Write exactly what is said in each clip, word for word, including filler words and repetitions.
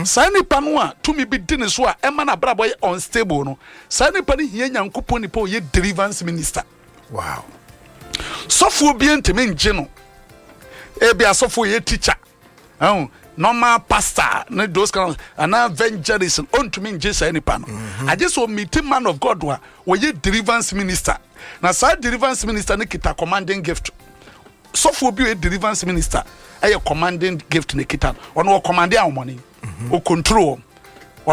Saa nipa no a tumi bi di ne so a ɛma n'abrabɔ yɛ unstable no, saa nipa no hia Nyankopɔn nipa a ɔyɛ deliverance minister. Wow. Sɔfoɔ bi ntumi ngye no. Ebi asɔfoɔ yɛ teacher ɛho, normal pastor ne those kind of anaa evangelist, ɔntumi ngye saa nipa no, agye sɛ ɔmeet man of God a wɔyɛ deliverance minister. Na saa deliverance minister no kita commanding gift. Sɔfoɔ bi a ɔyɛ deliverance minister ɛyɛ commanding gift ne kita no. Ɔno wɔ command ahomɔne, o control wɔn.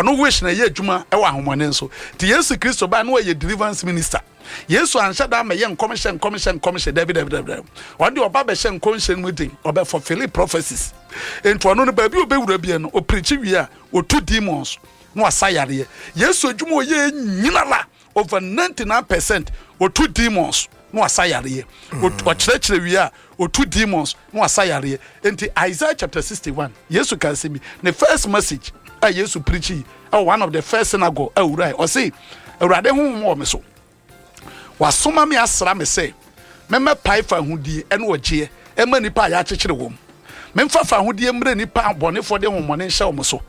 Ɔno wish na ɛyɛ adwuma ɛwɔ ahomɔne nso. Nti Yesu Kristo baa no, wɔyɛ deliverance minister. Yesu anhyɛ da amɛyɛ nkɔmhyɛ, nkɔmhyɛ, nkɔmhyɛ. Dabi, dabi, dabi, dabi. Ɔno deɛ, ɔba bɛhyɛ nkɔmhyɛ no mu den, ɔbɛ fulfill prophecies. Nti ɔno no, baabi a ɔbɛwura bia no, ɔpreach wie a, ɔtu demons na wasa yareɛ. Yesu adwuma a ɔyɛ nyina la, over ninety-nine percent, ɔtu demons na wasa yareɛ. Ɔt- ɔkyerɛkyerɛ wie a, ɔtu demons na wasa yareɛ. Nti Isaiah chapter sixty-one, Yesu ka asɛm bi. Ne first message a Yesu preach yi ɛwɔ one of the first synagogue a owura yi, ɔse, "Awurade honhom wɔ me so, wasoma me asra me sɛ mɛmɛpae fa ahodie ɛne ɔgyeɛ ɛma nipa a yɛakyekyere wɔm, memfa fa ahodie mmerɛ nipa a bɔnefoɔ de honhomɔne nhyɛ wɔn so,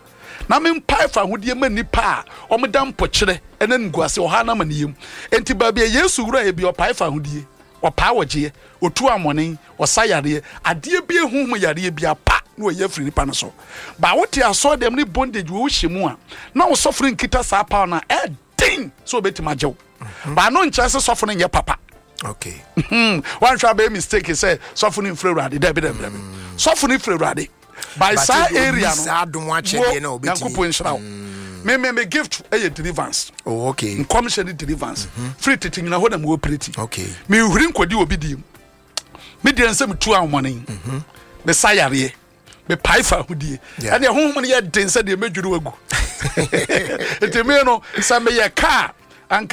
na mempae fa ahodie ma nipa a ɔmeda mpɔkyerɛ ɛne nguase ɔha no amaneyam." Enti baabi a Yesu wura yɛ bi, ɔpae fa ahodie, ɔpaa wɔgyeɛ, ɔtu amɔne, ɔsa yareɛ, adeɛ bi ehu mu yareɛ bi apa na ɔyɛ afiri nipa no so. Ba wote asɔre dɛm ne bondage wɔ wohyɛ mu a, na wo sɔfo no nkita saa power no a, ɛden sɛ obɛtumi agye wo. Ba no nkyerɛ sɛ sɔfo no nyɛ papa. Okay. Hmm, wanhwɛ abɛyɛ mistake sɛ sɔfo no mfiri Awurade. Dabi, dabi, dabi, sɔfo no firi Awurade by But saa ebi onni area no saa adom akyɛdeɛ na wo, obɛtumi. Nyankopɔn nhyira wo. me me me gift ɛyɛ deliverance. Oh, okay. Nkɔmhyɛ ne deliverance. Firi tete nyina hɔ na mewɔ operate. Okay. Mehuri nkɔdi obi diem. Me deɛ, nsɛ metu ahomɔne, mesa yareɛ, mepae fa ahodie. Yeah. Ɛneɛ honhom no yɛ den sɛ deɛ mɛdwiri wagu. Nti me no, sɛ meyɛ kaa